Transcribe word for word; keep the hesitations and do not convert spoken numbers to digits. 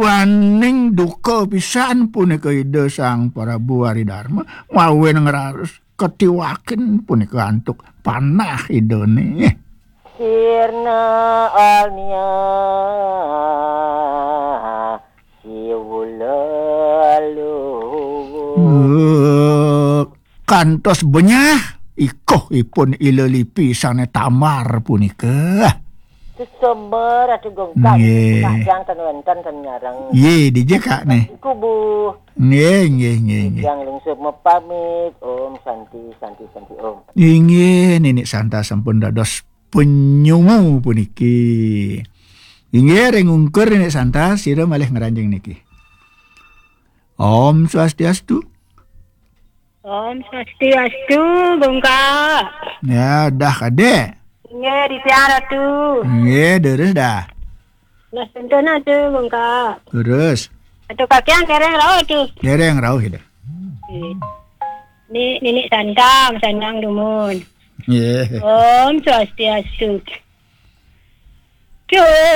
Waning duka pisan punika Ida Sang Prabu Ari Darma, mawen ngraos katiwakin punika antuk panah Idane. Sirna alnia siwula luwu. Eh, kantos benyah ikuh ipun Ila Lipi sane tamar punika. Sesober atuh gongkang. Nggih. Kadang ten wenten ten nyareng. Nggih, dija, Kak, nih. Kubu. Nggih, nggih, nggih, nggih. Yang lungsur mepamit. Om Santi, Santi, Santi, Om. Inggih, Nini Santa sampun dados penyungu puniki. Inggih, ring ungkur Nini Santa, sira malih ngranjing niki. Om Swastiastu. Om Swastiastu, Bungka. Ya, dah kade. Nggih, di tiang Ratu. Nggih, deres dah. Nah, contohnya tuh, Bungka. Terus. Atau kakian dereng rauh tuh. Dereng rauh ya dah. Nggih. Ni Nini Santa, Sandang Dumun. Nggih. Om Swastiastu. Cus.